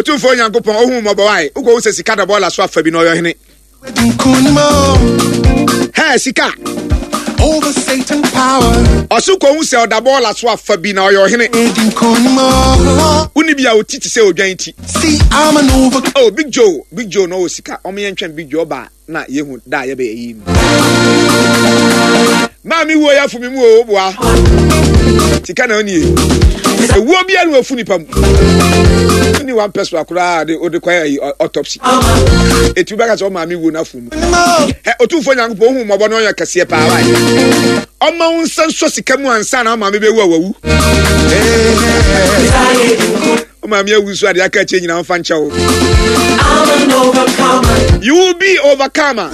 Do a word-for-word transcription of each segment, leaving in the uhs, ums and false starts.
Otumfoɔ Nyankopɔn ohu mmɔbɔ wae. Wokɔhu sɛ sika da bɔɔla so afa bi na ɔyɛ ɔhene. Hɛ sika. Over Satan power. Ɔso kɔhu sɛ ɔda bɔɔla so afa bi na ɔyɛ ɔhene. Woni bi a ɔti te sɛ odwan ti. See, I'm an overcomer. Oh, Big Joe, Big Joe na ɔwɔ sika. Ɔmo yɛn twɛn Big Joe ɔba na yehu da a yɛbɛyɛ yi no. Maame wuo yɛ afo mi mu o boa. Sika na ɔnie. Ewuo bi anu efu nipa mu. Ni one person akoraa de ode kɔ ayi autopsy. Etu bɛka sɛ ɔmaame wuo na afo mu. Ɛ Otumfoɔ Nyankopɔn ohu mmɔbɔ na ɔyɛ kɛseɛ paa wa. Ɔma wo nsa nsɔ sika mu ansa na ɔmaame bɛwu a wawu. Ɔmaame awu nso adeɛ aka akyire nyinaa ɔmfa nkyɛ wo. You will be overcomer.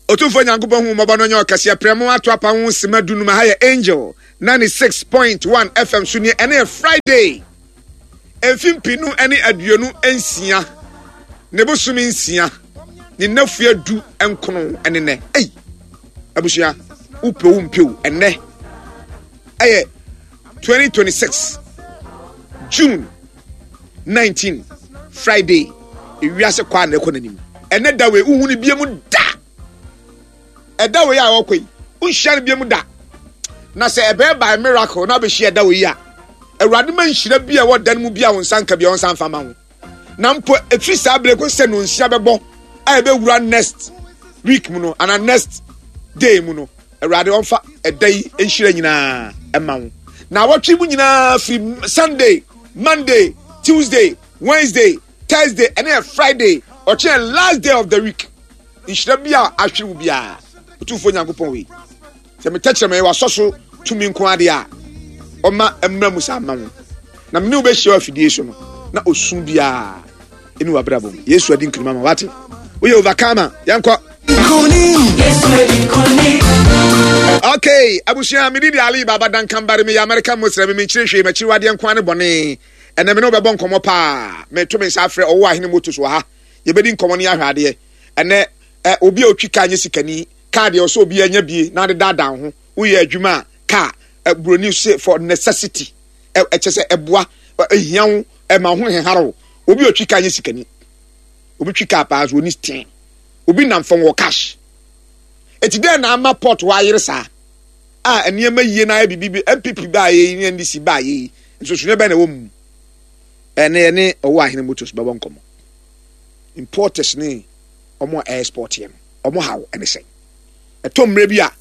Otumfoɔ Nyankopɔn hu mmɔbɔ no nyɛ ɔkɛseɛ. Prɛmo ato apa ho sima dunum. Ha yɛ Angel ninety-six point one F M so nie. Ɛne yɛ Friday. Mfe mpinu ne aduonu nsia. Ne bosome nsia. Ne nnafua du nkono ne nɛ. Ei! Abusua, wopɛ wo mpɛ wo. Ɛnɛ ɛyɛ twenty twenty-six June nineteen, Friday. Ewiase kɔ a na ɛkɔ n'anim. Ɛnɛ da wei wohu no bie mu da. Ɛda wei a ɔkɔ yi wonhyia no bie mu da. Na sɛ ɛbɛyɛ by miracle na abɛhyia ɛda wei a, Awurade ma nhyira bi a ɛwɔ da no mu bi a wo nsa nka bi a wɔnsa mfa ma wo. Na mpo ɛfiri saa berɛ kɔ sɛ nonsia bɛbɔ a ɛbɛwura next week mu no anaa next day mu no, Awurade ɔmfa ɛda yi nhyira nyinaa ɛma wo. Na awɔtwe mu nyinaa, firi Sunday, Monday, Tuesday, Wednesday, Thursday, ɛne yɛ Friday, ɔkyerɛ last day of the week, nhyira bi a ahwere wo biara, Otumfoɔ Nyankopɔn wei sɛ metɛkyerɛ mɛ wasɔ so tumi nko adeɛ a ɔma mmra mu saa ma wo na mene wo bɛhyia wɔ afidie so no na osu biara ɛne wabrabɔ mu. Yesu adi nkunim ama wate. Woyɛ overcomer. Yɛnkɔ. Okay, abusua, mede de Ali Baba Dankan Bare. Meyɛ American Muslim. Menkyerɛ hwee, makyiri wadeɛ nko ne bɔne. Ɛnɛ me ne wobɛbɔ nkɔmmɔ paa. Meto me nsa afrɛ ɔwɔ Ahene Motos wɔ ha. Yɛbɛdi nkɔmmɔ no, yɛahwɛ adeɛ. Ɛnɛ ɛ obi a otwi kaa nyɛ sikani. Kaa deɛ ɔsɛ obi anya bie na ade daadaa ho. Woyɛ adwuma a, kaa ɛ buroni se for necessity, ɛ ɛkyɛ sɛ ɛboa, ɛhia wo, ɛma ho hehare wo. Obi a otwi kaa nyɛ sikani. Obi twi kaa paa so oni ten. Obi nam fam wɔ cash. Eti dɛn na ama port hɔ ayere saa a nneɛma yie na ayɛ bibi bi? N P P baa yɛ yi ne N D C baa yɛ yi, nsonsonoeɛ bɛn na ɛwɔ mu? Ɛne ɛne ɔwɔ Ahene Motors bɛbɔ nkɔmmɔ. Importers ne ɔmo a export yɛ no, ɔmo haw ɛne sɛn? Ɛtɔ mmerɛ bi a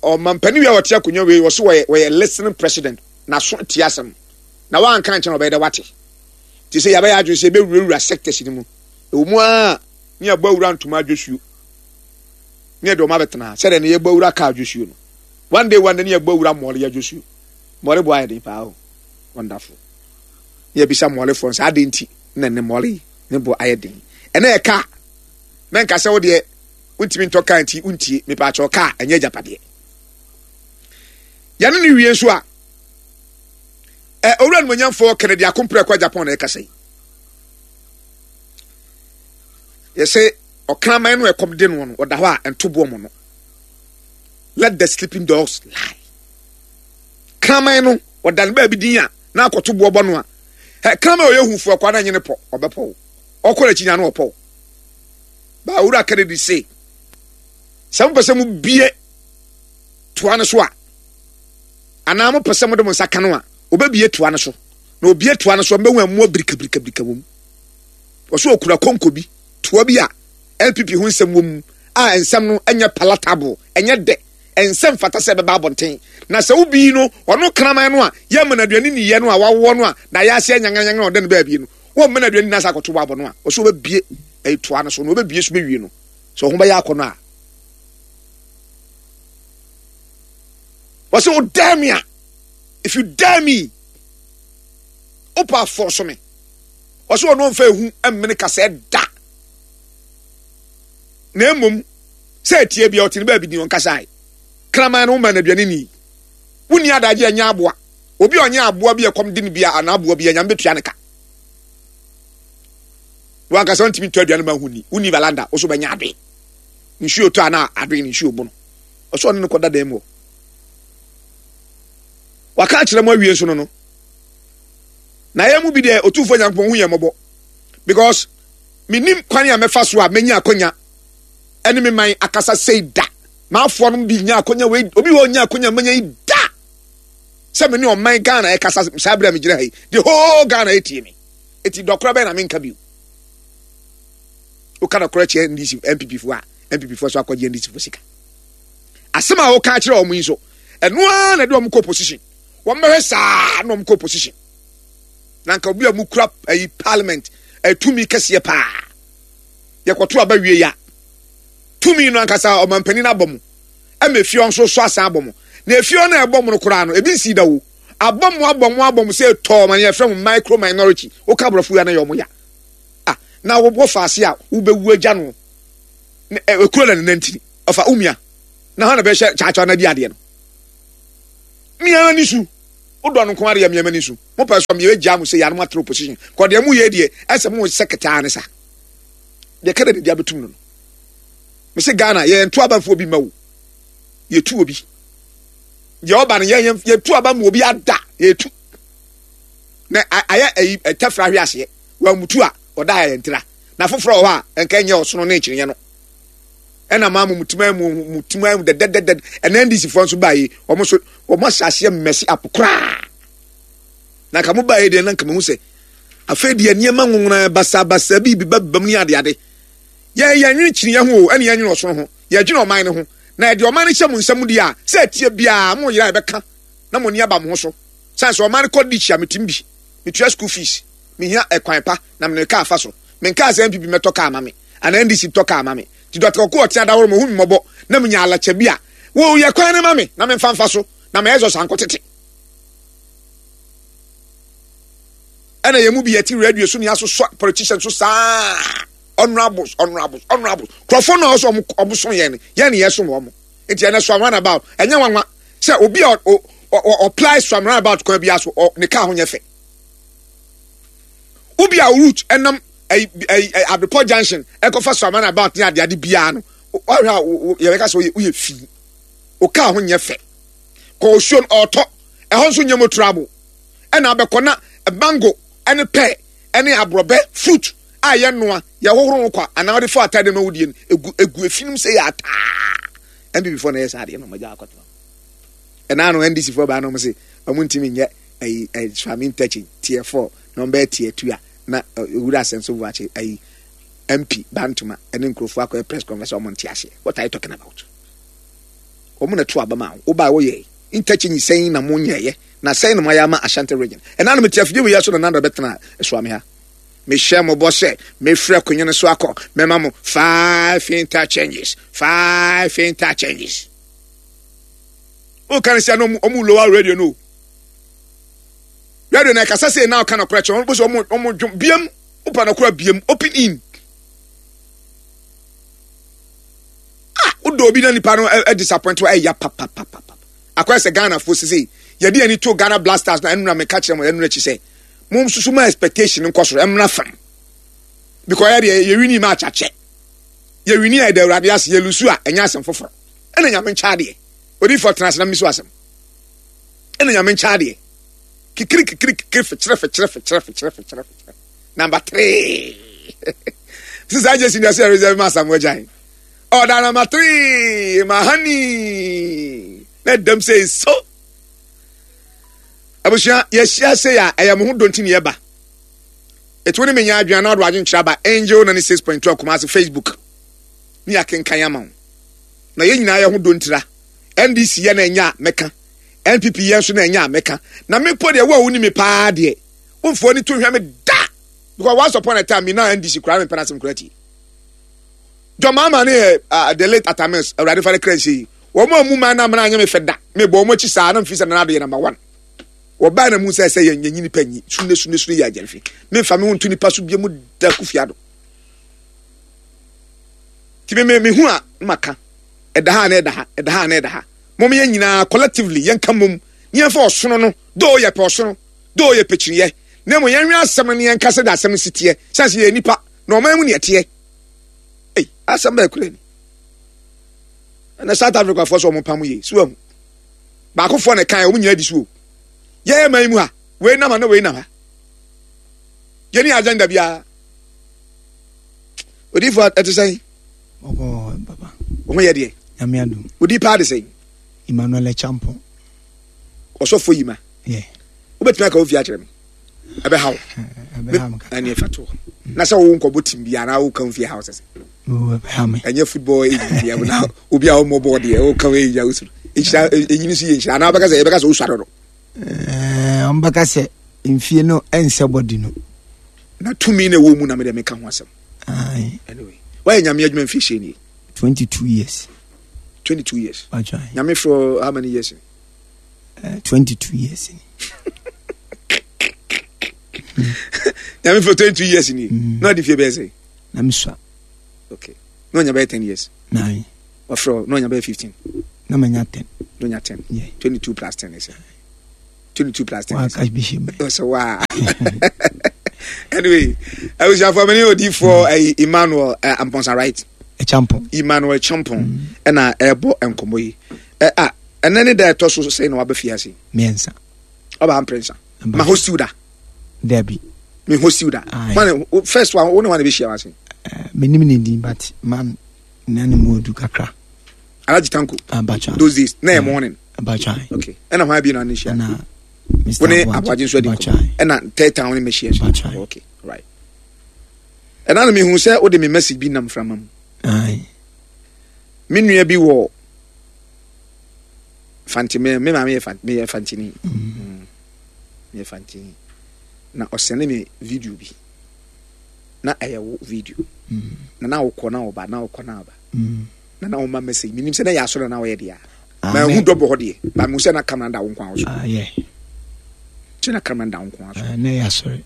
ɔmampanin wi a ɔte akonnwa wei wɔso wɔyɛ wɔyɛ listening president na so tie asɛm na wanka nkyɛn ɔbɛyɛ dɛ wate te sɛ yɛabɛyɛ adwene sɛ yɛbɛwurawura sectors no mu. Ɛwɔ mu a ne yɛbɔ awura ntoma adwosuo ne yɛde ɔmo abɛtena sɛdeɛ ne yɛbɔ awura kaa adwosuo no. One day, one day, ne yɛbɔ awura mmɔre yɛ adwosuo. Mmɔre bo ayɛ den paa o, wonderful. Ne yɛbisa mmɔrefoɔ nsa ade nti na ne mmɔre ne bo ayɛ den. Ɛnɛ yɛ kaa mɛnka sɛ wodeɛ wontumi ntɔ kaa nti wontie. Mepaakyɛw, kaa ɛnyɛ agyapadeɛ. Yɛne ne wie nso a ɛ owura nomonyamfoɔ Kennedy Akompreko Agyapong na ɛkasa yi. Yɛsɛ ɔkraman no ɛkɔm de no no ɔda hɔ a ɛntoboɔ mu no, let the sleeping dogs lie. Kraman no ɔda ne baabi din a na akɔto boɔ bɔ no a ɛ kraman a ɔyɛ hufoɔ kɔ ana nye ne pɔ ɔbɛpɔ wo ɔkɔ n'akyi nya no ɔpɔ wo ba. Owura Kennedy se sɛ mopɛ sɛ mobie toa no so a anaa mopɛ sɛ mode mo nsa ka no a, obɛbie toa no so na obie toa no so a mbɛhu ɛmmoa birikabirikabirika wɔ mu. Wɔso okura konko bi, toa bi a N P P ho nsɛm wɔ mu a nsɛm no nyɛ palatable, ɛnyɛ dɛ, nsɛm fata sɛ ɛbɛba abɔnten. Na sɛ wobii no ɔno kraman no a yɛma no aduane niyɛ no a wawoɔ no a na yɛase anyanganyangan a ɔda no baabi no, wɔmma no aduane nyinaa sɛ akɔto wɔ abɔ no a ɔsɛ wɔbɛbie ɛyi toa no so na wɔbɛbie so bɛwie no sɛ ɔho bɛyɛ akɔ no a wɔsɛ wo dare me a, if you dare me, wopɛ afɔ so me. Wɔsɛ ɔno ɔmfa ehu mmene kasɛɛ da na mmom sɛ etie bia ɔte ne baabi din ɔnkasae. Kraman no woma no aduane ni, wonni adagye ɛnyɛ aboa. Obi a ɔnyɛ aboa bi a ɛkɔm de no bi a anaa aboa bi a Nyame bɛtua ne ka. Wankasa ntumi ntɔ aduane ma ho ni, wonni valanda wo so bɛnya adoe nsuo tɔ anaa adoe ne nsuo bo no. Ɔsɛ ɔne no kɔda dan mu hɔ waka akyerɛ mu awie nso no no Na yɛn mu bi deɛ, Otumfoɔ Nyankopɔn hu yɛn mmɔbɔ, because menim kwan a mɛfa so a mɛnya akonya ɛne me man akasa sei da. Maafoɔ no bi nya akonya wei, obi wɔ nya akonya mɛnya yi da sɛ me ne ɔman Ghana ɛkasa saa berɛ a megyina ha yi, the whole Ghana ɛtie me. Eti dɔkora bɛyɛ na menka bio. Woka dɔkora kyerɛ N D C, N P P foɔ a, N P P foɔ so akɔgye N D C foɔ sika. Asɛm a woka kyerɛ wɔn yi nso, ɛno ara na ɛde wɔn kɔ opposition. Wɔn bɛhwɛ saa na wɔn kɔ opposition. Na nka obi a mu kura ayi parliament ɛtumi kɛseɛ paa, yɛkɔto aba wie ya, tumi no ankasa ɔmampanin abɔ mu, ɛma efie nso so asan abɔ mu. Na efie no a ɛbɔ mu no koraa no, ebi nsi da wo abɔ mu, abɔ mu, abɔ mu sɛ tɔɔ ma yɛfrɛ mu micro minority. Woka aborɔfo ya na yɛ ɔmo ya ah, na wobɔ faase a wobɛwu agya no ekuro na ne nantini ɔfa umia na hɔn na bɛhyɛ kyaakyaa na di adeɛ no mmea ni su wodɔ no nko adeɛ mmea ni su. Mo pɛ so mmea gya mo sɛ yanom atena opposition kɔ deɛ mo yɛ deɛ ɛsɛ mo sɛ ketaa ne sa deɛ kɛdɛ de deɛ abɛtum no no mese Ghana yɛn to abafoɔ bi ma wo, yɛtu obi deɛ ɔba no, yɛn yɛtu aba mu obi ada yɛtu na ayɛ ayi ɛtɛfra ahwe aseɛ wɔamutu a ɔda ayɛ ntira na foforɔ wɔ hɔ a nka nyɛ ɔsono ne nkyerɛnyɛ no. Ɛna maa mo mutuma mu mutuma mu dɛdɛdɛdɛ. Ɛna N D C foɔ nso baa yi, wɔn nso wɔn ahyɛ aseɛ mmɛsi apo koraa. Na nka mo baa yi deɛ, na nka mo ho sɛ afei deɛ nneɛma nwonwona basabasa bi bi ba bam ne adeade. Yɛn yɛn nwene kyiniiɛ ho o, ɛne yɛn nwene ɔsono ho, yɛdwene ɔman no ho. Na yɛde ɔman no hyɛ mo nsam deɛ a, sɛ ɛteɛ biara mo yera yɛbɛka na mo ani aba mo ho so. Sane sɛ ɔman no kɔ ditch a, metim bi metua school fees, mehia ɛkwan pa na mene kaa fa so. Menkaa sɛ N P P mɛtɔ kaa ma me anaa N D C tɔ kaa ma me. Nti Doctor Kɔkɔ ɔte adaworo ma ɔhu me mmɔbɔ na menya alakyɛ bi a wɔyɛ kwan no ma me na memfa mfa so na ma ɛzɔ sankɔ tete. Ɛna yɛn mu bi yɛte radio so ne asosɔ politician so saa, honourables, honourables, honourables. Kurɔfoɔ no a ɔsɔ ɔmo ɔmo so yɛn yɛn ne yɛsom wɔn. Nti ɛnɛ so roundabout ɛnyɛ nwanwa sɛ obi a ɔply so roundabout kwan bi aso ɔ ne kaa ho nyɛ fɛ. Obi a route ɛnam ɛyi ɛyi Abepɔ Junction ɛkɔfa so roundabout ne adeade biara no, ɔhwɛ a yɛbɛka sɛ ɔyɛ ɔyɛ fi o, kaa ho nyɛ fɛ. Kɔ osuo no ɔtɔ ɛhɔ nso nyɛ motorable, ɛna abɛkɔ na mango ɛne pear ɛne aborɔbɛ fruit a yɛnoa yɛhohoro ho kwa anaa wɔde fa atade ma wodie no egu egu efinom sɛ yɛ ataa. N P P foɔ na yɛ saa adeɛ no, ɔmo gya akɔtena. Ɛna no N D C foɔ baa na ɔmo se ɔmo ntumi nyɛ ɛyi ɛyi Suame interchange tier four na ɔmo bɛyɛ tier two a, na owura Asɛnso Buakye ɛyi M P Bantoma ɛne nkurɔfoɔ akɔyɛ press conference. Ɔmo nte aseɛ. What are you talking about? Ɔmo na to aba ma wo ɔbaa wɔyɛ interchange sɛn na mo nyɛɛyɛ na sɛn na mo ayɛ ama Ashanti Region? Ɛna no mete afidie wei so na nanda bɛtena Suame ha, mehyɛ mo bɔ sɛ mefrɛ akonnwa no so akɔ mɛma mo five interchanges, five interchanges. Woka no sɛ no ɔmo lower radio no, radio na ɛkasa sɛ na ɔka nɔkorɛ kyerɛ ɔmo sɛ ɔmo ɔmo dwom biam wopa nɔkorɛ biam open in ah, wodɔ obi na nipa no ɛ disappoint wa, ɛya papapapa. Akɔyɛ sɛ Ghana fo sisi yɛde ani to Ghana Black Stars na ɛnura meka kyerɛ mo ɛnura akyi sɛ mo nsusu ma expectation nkɔ soro, ɛmra fam, because yɛ deɛ yɛ win match akyɛ, yɛ win a, yɛda Awurade ase. Yɛ lose a, ɛnyɛ asɛm foforɔ. Ɛna Nyame nkyɛ adeɛ odiifo tena ase na mmiso asɛm. Ɛna Nyame nkyɛ adeɛ kikiri kikiri kikiri fɛkyerɛ fɛkyerɛ fɛkyerɛ fɛkyerɛ fɛkyerɛ fɛkyerɛ. Number three sisan jesi ní ɛsɛ reserve ma Asamoah Gyan ɔda number three ma honey na dɛm sɛ so. Abusua, yɛhyia se a ɛyɛ mo ho dɔnti ne yɛba ɛtu ne menya adwene na ɔde adwenkyerɛ aba Angel ninety six point two Akumase Facebook ne yɛakenkan ama wo. Na yɛn nyinaa yɛ ho dɔntira. N D C yɛ na ɛnya a mɛka, N P P yɛ nso na ɛnya a mɛka. Na mepɔ deɛ wo a woni me paa deɛ womfoɔ ni to hwɛ me da, because once upon a time me na N D C koraa mempɛ no asɛm koraa tie. John Mahama ne yɛ uh, the late Atames, Awurade fa ne kra nhyɛ yi, wɔn a mu man na amena anyɛ me fɛ da. Mebɔ wɔn akyi saa na mfi sɛ Nana Addo yɛ number one. Wɔbaa na mu sɛ sɛ yɛn yɛnyi nipa nyi sunne sunne sunne yɛ agyɛnhwe memfa me ho nto nipa so bie mu da. Kofi Ado ti me me me hu a maka ɛda ha na ɛda ha, ɛda ha na ɛda ha. Mom yɛn nyinaa collectively yɛnka mom ne yɛmfa ɔsono no doo yɛpɛ ɔsono doo yɛpɛ kyiniiɛ, na mmom yɛnwe asɛm no ne yɛnka sɛ de asɛm no si teɛ sɛ sɛ yɛ nipa na ɔman mu ne ɛteɛ. Ei, asɛm bɛɛ kura ni. Ɛnɛ South Africa foɔ sɛ ɔmo pam yie so ahu baakofoɔ na ɛkan ɔmo nyinaa di so o. Yɛyɛ man mu ha, wei nam ha na wei nam ha. Yɛni agenda biara. Odiifo, ɛte sɛn? Ɔkɔ papa. Wo ho yɛ deɛ? Nyame adom. Odi paa de sɛn? Emmanuel Champon. Ɔsɔfo yi ma. Yeah. Wobɛtumi aka wo fie akyerɛ me? Ɛbɛha wo? Ɛbɛha me kakra. Ɛne ɛfa toɔ. Na sɛ wo nkɔbɔ team bi anaa woka wo fie ha wo sɛ sɛ? Oh, ɛbɛha me. Ɛnyɛ football age bi na obi a ɔmmɔ bɔɔl deɛ woka wo age a wosuro. Nhyira, ɛnyini so yɛ nhyira anaa wobɛka sɛ yɛbɛka sɛ wosua dodo? Ɛɛ, ɔmbɛka sɛ mfie no ɛnsɛ bɔdi no. Na tumi na ɛwɔ mu na mede meka ho asɛm. Aye. Anyway, wayɛ Nyame adwuma mfie hyɛ nie? twenty-two years. twenty-two years. That's right. Nyame for how many years? Uh, twenty-two years. Nyame for twenty-two years ni. Mm. Na di fie bɛyɛ sɛ? Na mesua. Okay. Na ɔnya bɛyɛ ten years. Nine. Ɔfrɛ na ɔnya bɛyɛ fifteen. Na manya ten. Na ɔnya ten. Yeah. twenty-two plus ten is twenty-two plus ten. Wa ka bi hyɛ mu. So wa. Anyway, abusuafo mi ni odiifo ɛyi Emmanuel uh, Amponsa, right? Champon. Emmanuel Champon ɛna ɛbɔ nkɔmɔ yi. Ɛ a ɛnɛ ne da ɛtɔ so sɛ na waba fie ase. Mmiɛnsa. Ɔba mprɛnsa. Ma host you da. Dabi. Me host you da. One first one, wo ne one bɛ hyia wase. Menim ne din, but man na ne mu odu kakra. Alhaji Tanko. Abacha. Those days na yɛ morning. Abacha. Okay. Ɛna hwan bi na ne hyia? Ɛna Mister Wo ne Aboagye nso adi nkɔmɔ. Ɛna third time wo ne me hyia. Abacha. Okay, right. Ɛna na mehu sɛ wode me message bi nam frama mu. Aye. Me nua bi wɔ Fante, me me maame yɛ Fante, meyɛ Fantini. Mm. Meyɛ Fantini. Na ɔsɛne me video bi. Na ɛyɛ wo video. Mm. Na na wokɔ na woba, na wokɔ na woba. Mm. Na na woma message. Menim sɛ na yɛ asɔre na woyɛ deɛ. Ah, Ma me- hu dɔbɔ hɔ deɛ. Ba mehu sɛ na camera da wo nko ara so. Ah, yeah. Kyɛ na camera da wo nko ara so. Ah, na yɛ asɔre.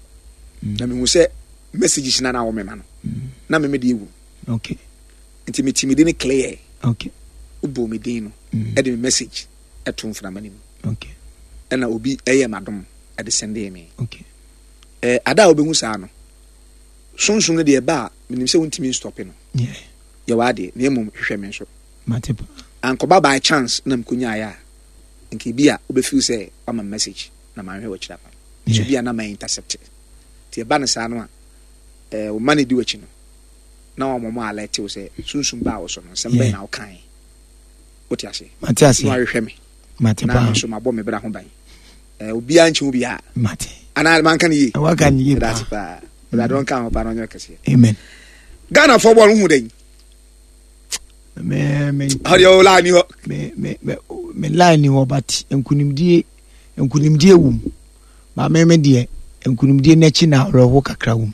Na mehu sɛ messages na na wo mema no. Na me me deɛ wu. Okay. Nti metimi de ne clear. Okay. Wobɔ me din no. Mm. Ɛde me message ɛto mframa no mu. Okay. Ɛna obi ɛyɛ m'adom ɛde sɛndee me. Okay. Eh, ada a wobɛhu saa no, sunsum no deɛ ɛba a, menim sɛ wontumi nstɔpe no. Yeah. Yɛwɔ adeɛ, na mmom hwehwɛ me nso. Mate pa. Ankɔba by chance na mkonyaeɛ a, nka ebi a wobɛfeel sɛ wama me message na manhwɛ w'akyiri akwan. So Yeah. bi a na ma intercept. Nti ɛba no saa no a, eh, wo ma no di w'akyi no, na wama mo alert wo sɛ sunsum baa wo so no, nsɛm bɛn Yeah. na wokae. Wote ase? Mate ase. Na wahwehwɛ me. Mate Na pa. me nso mabɔ me bra ho ban. Eh, obiara nkyɛ wo biara. Mate. Anaa manka no yie? Waka no yie Ɛda paa. ase paa. Awurade ɔnka ho paa na ɔnyɛ kɛseɛ. Amen. Ghana fɔ bɔɔl hu dɛn? Me me Ɔdeɛ o line ni hɔ. me me me me line ni hɔ, but nkunimdie nkunimdie wom. Ba me me deɛ, nkunimdie n'akyi na awerɛho kakra wom.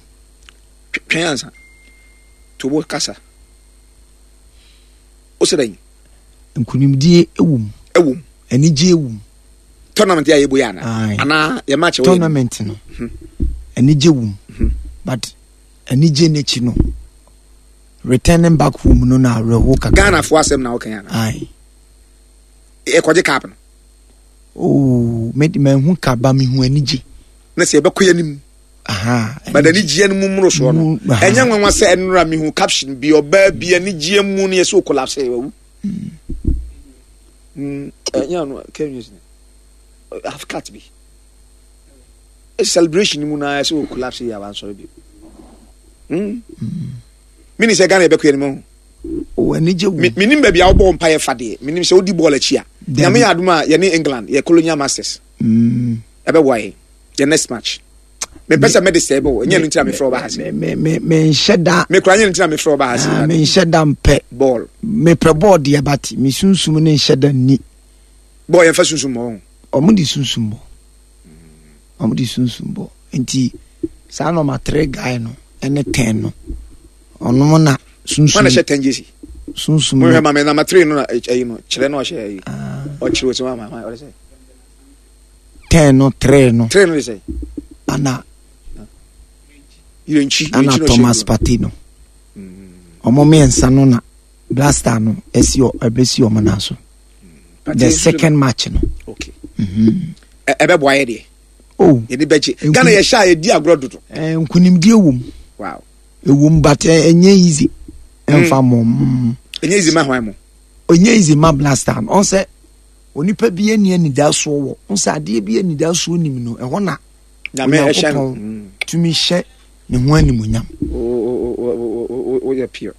Twɛn ansa. Tobo kasa. O sɛ dɛn? Nkunimdie wom. Ɛwom. Anigye wom. Tournament yɛ a yɛbɔ yɛ ana? Aye. Anaa yɛ match wɔ yɛ? Tournament no. Anigye wom. But anigye n'akyi no, returning back home no na awerɛho kakra. Ghana fo asɛm na wɔka ana? Aye. Ɛkɔgye cup no. Oh, me de manhu kaba, mehu anigye. Na sɛ yɛbɛkɔ yɛn anim. Aha. But anigyeɛ no mu mmoro soɔ no. Mu- aha. Ɛnyɛ nwanwa sɛ ɛnora mehu caption bi, ɔbaa bi anigyeɛ mu no yɛ sɛ o collapse wawu. Mm, ɛnyɛ ɔno kɛ news ni. Half cut bi. E celebration mu na sɛ o collapse yɛ abansɔre bi. Mm. Mini sɛ Ghana yɛbɛkɔ yɛn anim ho. Oh, anigye wom. Me menim baabi a wobɔ mpaeɛ fa deɛ. Menim sɛ wodi bɔɔl akyi a. Dabi. Nyame yɛ adom a, yɛne England yɛ colonial masters. Mm. Ɛbɛboa yɛn. Yɛ next match. Mepɛ sɛ mede sɛ ɛbɛwɔ. Ɛnyɛ no nti na mefrɛ wo ba ha se. Me me me menhyɛ da. Mekura nyɛ no nti na mefrɛ wo ba ha se. Ah, menhyɛ da mpɛ. Bɔɔl. Mepɛ bɔɔl deɛ, but me sunsum ne nhyɛ da nni. Bɔɔl yɛmfa sunsum bɔ ho. Ɔmo de sunsum bɔ. Ɔmo de sunsum bɔ. Nti saa number three guy no ɛne ten no. Ɔno na sunsum. Wọn na hyɛ ten jersey. Sunsum Mo no. hwɛ maame number three no na ɛyi no kyerɛ na ɔhyɛ ɛyi. Ah, Ɔkyerɛ osi wɔn ama ɔde sɛ. Ten no, three no. Three no de sɛ. Ana Yirenkyi. ana Yirenkyi na ɔhyɛ Thomas blue. Partey no. Ɔmo mmiɛnsa no na Blaster no esi ɔ ɛbɛsi ɔmo nan so. Partey The nso second match no. Okay. Ɛ ɛbɛboa yɛ deɛ. Oh. Yɛde bɛgye. Nku- Ghana yɛ hyɛ a yɛdi agorɔ dodo. Eh, nkunimdie wom. Wow. Ewom, but ɛ- ɛnyɛ easy. Ɛnfa mo. Mm. Ɛnyɛ easy ma hwan mo? Ɛnyɛ easy ma Blaster no. Ɔn sɛ onipa bi ani anidasoɔ wɔ. Ɔn sɛ adeɛ bi anidasoɔ nim no, ɛhɔ na Nyame ɛhyɛ no. Onyankopɔn tumi hyɛ Ne ho animonyam. Woyɛ pure.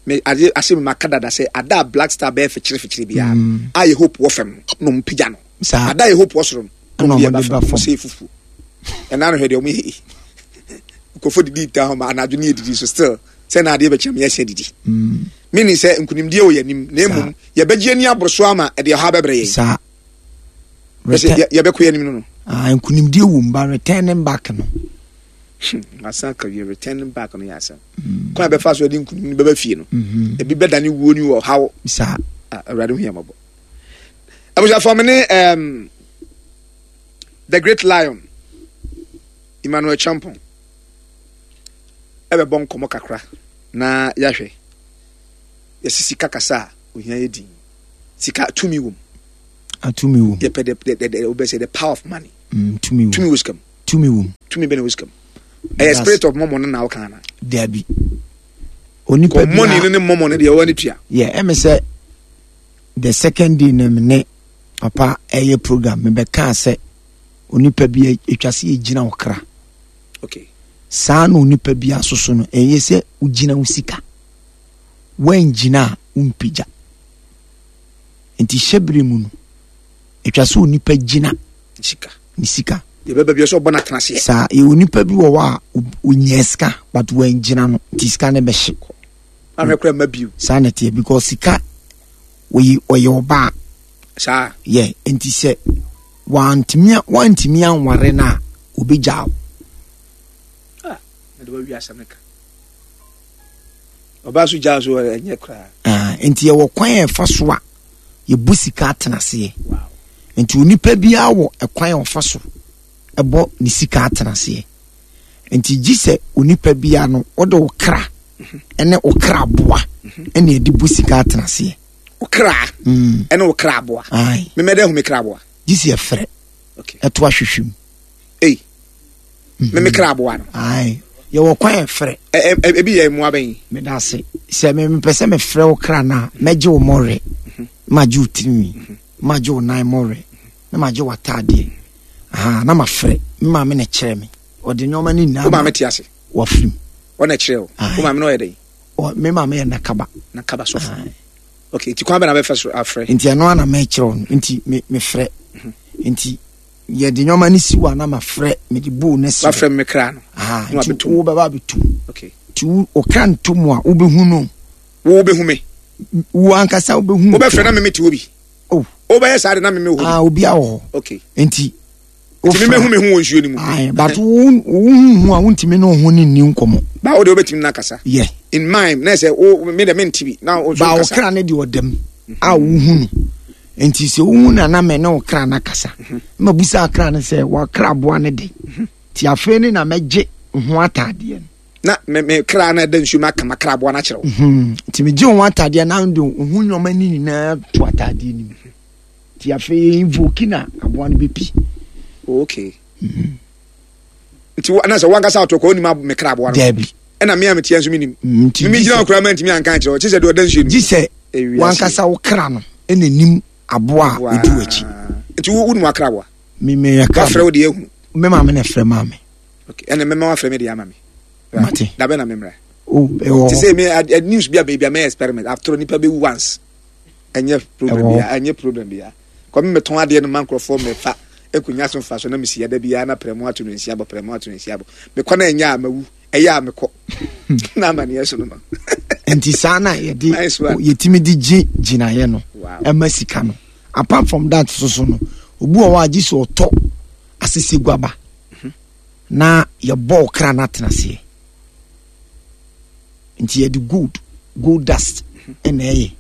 Me ade ase me maka dada sɛ ada a Black Star bɛyɛ fikyere fikyere biara mm. a yɛ hope wɔ fam no na ɔmo pagya no. Ada yɛ hope wɔ soro no na ɔmo de ba fam. Ɔmo sɛ fufuo. Ɛna no hwɛ deɛ ɔmo yɛ yi. Nkurɔfoɔ didi ta hɔ ma anadwo ne yɛ didi so still sɛ na adeɛ bɛkyɛm yɛhyɛ didi. Mm. Meaning sɛ nkunimdie wɔ yɛn anim na mmom yɛbɛgye ani aboro so ama ɛde ɔha bɛbrɛ yɛn. Saa. Yɛbɛkɔ yɛn anim no no. Ah, nkunimdie wɔ mu ba returning back no. Hmm, masan ka wie returning back no yɛ asɛm. Mm. Kwan a bɛfa so de nkunim no bɛba fie no. Mm-hmm. Ebi bɛdane wuo ne ɔhaw. Saa. Ah, Awurade hu yɛn mmɔbɔ. Abusuafoɔ me ne um, the great lion Emmanuel Champon ɛbɛbɔ nkɔmmɔ kakra na yɛahwɛ yɛsi sika kasa a ohia yɛ din sika tumi wom. Atumi wom. Yɛpɛ the the the wobɛsɛ the power of money. Mm, tumi wom. Tumi wɔ sika mu. Tumi wom. Tumi bɛ na wɔ sika mu. Ɛyɛ spirit of mɔmɔ no na ɔka ana. Dabi. Onipa bi mɔni no ne mɔmɔ no deɛ ɔwɔ ne tua. Yɛ ɛmɛ sɛ the second day na me ne papa ɛyɛ program me bɛ kaa sɛ onipa bi atwa sɛ yɛgyina wo kra. Okay. Saa na onipa bi asoso no ɛyɛ sɛ wogyina wo sika. Woangyina a wompagya. Nti hyɛbere mu no atwa sɛ onipa gyina sika. Ne sika. Yɛbɛba bi sɛ ɔbɔ no atena aseɛ. Saa yɛwɔ nipa bi wɔ hɔ a ɔnya sika but wangyina no nti sika no bɛhye. Ahwɛ kora mma bio. Saa na ɛteɛ because sika ɔyɛ ɔyɛ ɔbaa. Saa. Yɛ nti sɛ wantumi wantumi anware no a obɛgyaa wo. Ah, na de wawi asɛm no ka. Ɔbaa so gyaa so ɛnyɛ koraa. Ah, nti yɛwɔ kwan a ɛfa so a yɛbu sika atena aseɛ. Nti onipa biara wɔ ɛkwan a ɔfa so ɛbɔ ne sika atena aseɛ. Nti gye sɛ onipa biara no wode wo kra ɛne wo kra boa ɛne ɛde bu sika atena aseɛ. Wo kra mm. ɛne wo kra boa. Memɛdɛ hu me kra boa. Gye sɛ yɛfrɛ ɛto ahwehwɛ mu. Ei. Me me kra aboa no. Ayi yɛwɔ kwan yɛ frɛ. Ɛ ɛ ebi yɛ mmoa bɛn. Meda ase sɛ me mepɛ sɛ mefrɛ wo kra no a mɛgye wo mmɔwerɛ mhm. magye wo tirinwi mhm. magye wo nan mmɔwerɛ na magye w'ataadeɛ aha na mafrɛ me maame na ɛkyerɛ me ɔde nneɛma no nyinaa. Wo maame te ase. Wafirim. Ɔna ɛkyerɛ wo. Wo maame no ɔyɛ dɛn? Me maame yɛ nakaba. Nakaba sɔfo. Okay, nti kwan bɛ na bɛfɛ so afrɛ. Nti ɛno ana mɛkyerɛ wo no nti me mefrɛ mhm. nti yɛde nneɛma no si hɔ a na mafrɛ mede bowl no si hɔ. Wafrɛ me kra no. Aha, nti wo bɛba abɛtum. Okay. Nti wo ɔkra nto mu a wobɛhu no. Wo wobɛhu me. Wo ankasa wobɛhu. Wobɛfrɛ na meme te hɔ bi. Oh. Wobɛyɛ saa de na meme wɔ hɔ bi. Ah, obi awɔ hɔ. Okay. Nti. Nti meme hu me ho wɔ nsuo no mu. Ayi, but wo wo hu hu a wontumi ne wo ho ne nni nkɔmmɔ. Ba wo de wobɛtumi na akasa. Yeah. In mind na sɛ wo me de mente bi na wo nso kasa. Ba wo kra ne deɛ ɔdam a wohu no. Nti sɛ wohu no a na me ne wo kra no akasa. Mhm. Na mabusa kra no sɛ wakra aboa no de. Mhm. Nti afei ne na mɛgye ho ataadeɛ no. Na me me kra no ɛda nsuo mu aka makra aboa no akyerɛ wo. Mhm. Nti megye ho ataadeɛ na de ho nneɛma no nyinaa to ataadeɛ no mu. Nti afei yɛ invoke na aboa no bɛpi. Oh, okay. Nti na sɛ wankasa ato kɔ wonim me kra aboa no. Daabi. Ɛna me a meteɛ nso menim. Nti me gyina koraa mantumi anka ankyerɛ wo. Kye sɛ deɛ ɔda nsuo no mu. Gye sɛ wankasa wo kra no ɛna nim aboa a ɔdi w'akyi. Nti wo wonim wakra aboa? Me me yɛ kra. Wafrɛ wo deɛ ahunu. Me maame na ɛfrɛ maa me. Okay, ɛna mɛma wafrɛ me deɛ ama me. Mate. Dabɛ na memmra. Oh, ɛwɔ hɔ. Te sɛ me news bi a baabi a mɛyɛ experiment. After nipa bɛwu once. Ɛnyɛ problem bia, ɛnyɛ problem bia. Kɔ me metɔn adeɛ no ma nkurɔfoɔ mɛfa ɛkɔnya so mfa so na mesi ɛda biara na prɛmo ato no nsia bɔ prɛmo ato no nsia bɔ. Mekɔ na ɛnyɛ a mawu. Ɛyɛ a mekɔ na amaneɛ so no no. Nti saa na yɛde yɛtumi de gye gyinaeɛ no ɛma sika no. Apart from that so so no, obi wɔ hɔ a gye sɛ ɔtɔ aseseguaba mhm. na yɛbɔ ɔkra no atena aseɛ. Nti yɛde gold gold dust ɛna ɛyɛ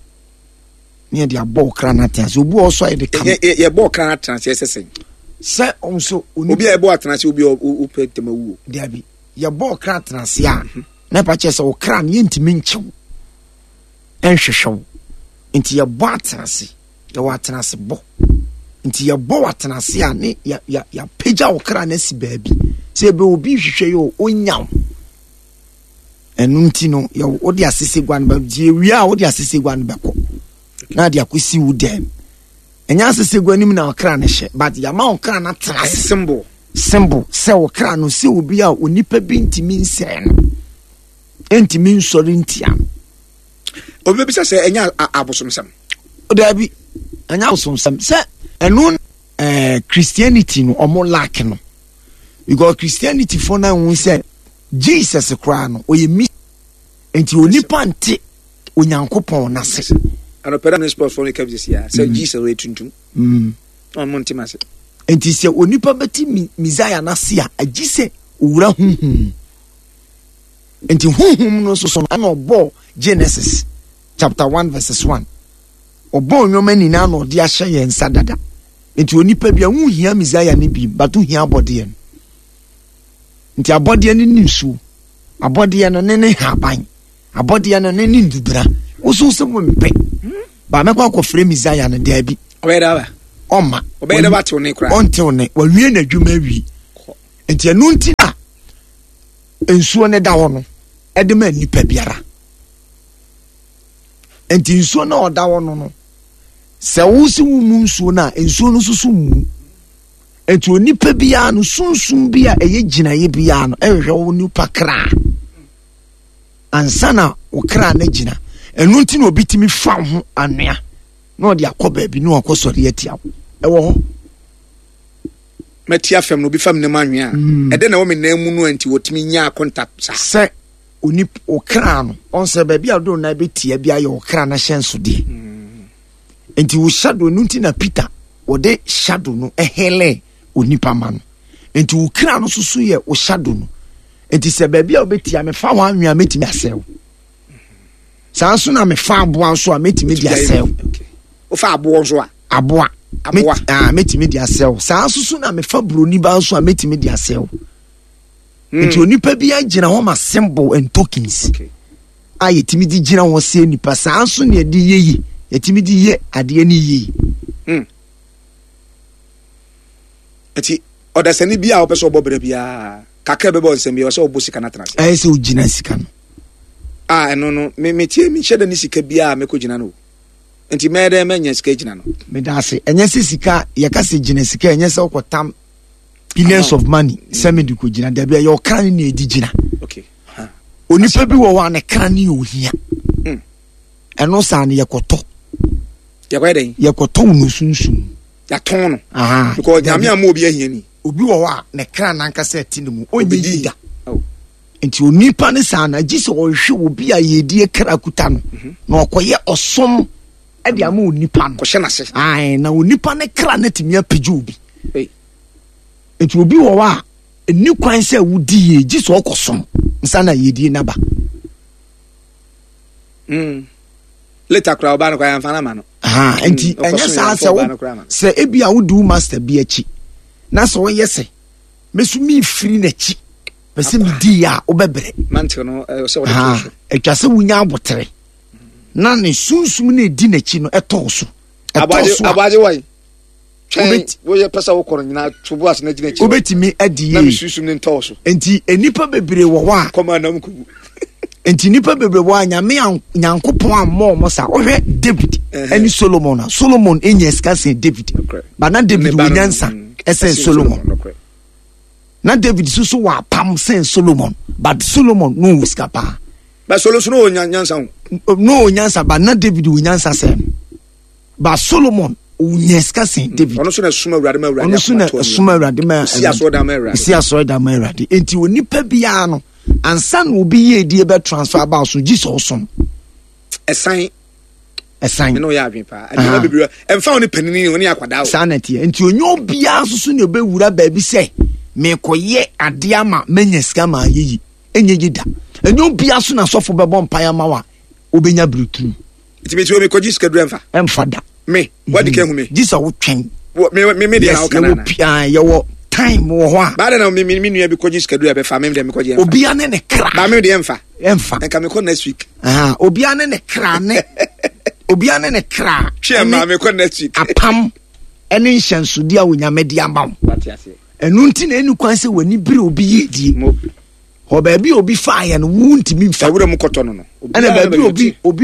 ne yɛde abɔ ɔkra no atena aseɛ. Obi wɔ hɔ so a yɛde kam. Yɛbɔ ɔkra no atena aseɛ sɛ sɛn? Sɛ ɔnso obi a yɛbɔ atena aseɛ obi a ɔpɛ ntɛm awuo. Dabi. Yɛbɔ ɔkra atena ase a na ɛpa kyerɛ sɛ ɔkra no yɛntumi nkyew nhwehwɛ wo nti yɛbɔ atena ase yɛwɔ atena ase bɔ nti yɛbɔ wɔ atena ase a ne yɛapagya ɔkra no asi baabi sɛ ebe obi hwehwɛ yɛ ɔnya wo ɛno nti no yɛ wode asese gua no bɛ nti yɛwie a wode asese gua no bɛkɔ na ade akɔsi wo dɛm ɛnyɛ asese gua no mu na ɔkra no hyɛ but yɛama ɔkra no atena ase symbol. Symbol sɛ wo kra no sɛ obi a onipa bi ntumi nsɛe no, ntumi nsɔre ntia no. Obi bɛbisa sɛ ɛnyɛ abosomsɛm? Daabi, ɛnyɛ abosomsɛm. Sɛ ɛno ɛɛ Christianity no ɔmo lack no, because Christianity fo na ehun sɛ Jesus koraa no ɔyɛ mi, nti onipa nte Onyankopɔn n'ase. Anɔpɛ ne sports fo no ka bi sɛ sɛ Jesus ɔyɛ tuntum. Ɔmo nte ma se. Nti sɛ onipa bɛti Messiah n'ase a, agye sɛ owura huhum. Nti huhum no nso so no ɛna ɔbɔ Genesis chapter one verses one. Ɔbɔ nneɛma nyinaa na ɔde ahyɛ yɛn nsa dada. Nti onipa bi a wohia Messiah no bi, but wohia abɔdeɛ no. Nti abɔdeɛ no ne nsuo, abɔdeɛ no ne ne haban, abɔdeɛ no ne ne ndubra. Woso sɛ wompɛ ba mɛkɔ akɔfrɛ Messiah no, daabi. Ɔbɛyɛ dɛ aba. Ɔma. Ɔbɛyɛ dɛ watew ne koraa. Ɔntew ne, wawie n'adwuma awie. Nti ɛno nti na nsuo ne da hɔ no ɛde ma nipa biara. Nti nsuo no a ɔda hɔ no no sɛ wosi wo mu nsuo no a, nsuo no nso so mu. Nti onipa biara no, sunsum bi a ɛyɛ gyinaeɛ biara no ɛhwehwɛ wo nipa kra ansa na wo kra no gyina. Ɛno nti na obi tumi fa ho anwea na ɔde akɔ baabi na wakɔ sɔre atia wo. Ɛwɔ hɔ. Mɛti afɛm na obi fam ne mu anwea a ɛdɛ na ɛwɔ me nan mu no, nti wɔtumi nya akonta saa. Sɛ onip wo kra no ɔn sɛ baabi a wode wo nan bɛtia bi ayɛ wo kra no ahyɛnsodeɛ. Nti wo shadow no nti na Peter wɔde shadow no ɛhɛlɛ onipa ma no. Nti wo kra no soso yɛ wo shadow no. Nti sɛ baabi a wobɛtia mefa hɔ anwea, mɛtumi asɛe wo. Saa nso na mefa aboa nso a, mɛtumi de asɛe wo. Wofa aboɔ nso a? Aboa. Aboa. Ah, mɛtumi de asɛe wo. Saa nso so na mefa buroni ba nso a, mɛtumi de asɛe wo. Nti onipa bi agyina hɔ ma symbol and tokens Okay. a yɛtumi de gyina hɔ sɛ nipa. Saa nso na yɛde yɛ yi, yɛtumi de yɛ adeɛ no yie. Nti ɔdasani bi a wɔpɛ sɛ ɔbɔ brɛ biara kakra bɛbɔ nsɛm bi ɔsɛ ɔbɔ sika no atena ase. Ɛyɛ sɛ ogyina sika no. A ɛno no me metie, mehyɛ da ne sika biara a mɛkɔ gyina no o, nti mɛyɛ dɛ mɛnya sika gyina no? Meda ase. Ɛnyɛ sɛ sika yɛka sɛ gyina sika, ɛnyɛ sɛ wokɔtam billions of money sɛ mede kɔgyina. Dabi, ɛyɛ ɔkra no na ɛdi gyina. Okay huh. Onipa bi wɔ hɔ a ne kra no yɛ ohia. Mm. Ɛno saa no yɛkɔtɔ. Yɛkɔyɛ dɛn? Yɛkɔtɔ wo no sunsum. Yɛatɔn no. Aha. Because Nyame ama obi ahia ni. Obi wɔ hɔ a ne kra nankasa ɛte ne mu, ɔnyɛ Obɛdi. yi da. Oh. Nti onipa ne saa no agye sɛ ɔhwɛ obi a yɛdie kra kuta no na ɔkɔyɛ ɔsom ɛde ama onipa no. Kɔhyɛ n'ase. Ae, na onipa ne kra no atumi apagya obi. Ei. Nti obi wɔ hɔ a ɛni kwan sɛ wodi yie gye sɛ ɔkɔsom nsa na yɛdie naba. Mm. Later koraa ɔbaa no koraa yɛmfa no ama no. Aha, nti Mm, ɔkɔsom ɛnyɛ saa yɛmfa sɛ ɔbaa wo no koraa ma no. Sɛ ebi a wodi wo master bi akyi na sɛ ɔyɛ sɛ meso mefiri n'akyi pɛ sɛ medi yɛ a, wobɛbrɛ. Mantle no ɛwɔ sɛ wɔde Aha, to so. Atwa sɛ wonya abotere na ne sunsum no ɛdi n'akyi no ɛtɔɔ so, ɛtɔɔ Aboagye so a aboagye wɔ yi twɛn. Wobɛti- Woyɛ pɛ sɛ wokɔ no nyinaa to bo ase na gyina akyi hɔ. Wobɛtumi adi Na yie. mesunsum ne ntɔɔ so. Nti nnipa bebree wɔ hɔ a kɔma anam kugu. Nti nnipa bebree wɔ hɔ a Nyame an- Nyankopɔn ammɔ ɔmo saa. Wohwɛ David Ɛhɛ. ɛne Solomon a, Solomon ɛnya sika sɛn David. Nokorɛ. Ba na David Ne ba wɔ no, nyansa mm, ɛsɛn ɛsen Solomon. Nokorɛ. Na David nso so wɔ apam sɛn Solomon, but Solomon no wɔ sika paa. Ba solo so no wɔ nya- nyansa ho. No wɔ nyansa, but na David wɔ nyansa sɛn no, but Solomon ɔnya sika sɛn David. Ɔno so na ɛsom Awurade ma Awurade Ɔno so na akoma tɔɔ ne ɛsom yam. Awurade ma Ɔsi asɔredan ma Awurade. Ɔsi asɔredan ma Awurade. Nti onipa biara no, ansa na obi yɛ edie bɛ transfer aba so, gye sɛ ɔsom. Ɛsan. Ɛsan. Me ne woyɛ adwene paa. Nneɛma bebree ɛmfa wo ne panini wo ne akwadaa o. Saa na ɛteɛ. Nti onye obiara nso so na obɛwura baabi sɛ mekɔyɛ adeɛ ama manya sika ma ayɛ yi, ɛnyɛ yi da. Ɛnyɛ obiara so na asɔfo bɛbɔ mpaeɛ ama wo a wobɛnya birituru. Nti meti wɔ mekɔgye sika duru ɛmfa. Ɛmfa da. Me wadi ka hu me. Gye sɛ wotwɛn. Wɔ- me me me deɛ na Yes, woka yɛwɔ nana. pi- ah, yɛwɔ time wɔ hɔ a Baada na me me me nua bi kɔgye sika duru ɛbɛfa me deɛ mekɔgye ɛmfa. Obiara ne ne kra. Ba me deɛ ɛmfa. Ɛmfa. Nka mekɔ next week. Aha, obiara ne ne kra ne obiara ne ne kra Twɛ ɛne ma mekɔ next week. Apam ɛne nhyɛnsodeɛ a Onyame de ama wo. Wate aseɛ. Ɛno nti na ɛni kwan sɛ w'ani bere obi yie die. Mo Hɔ baabi a obi faeɛ no, wo ntumi mfa. Ɛwura mu kɔtɔ no no. Ɛna baabi a obi obi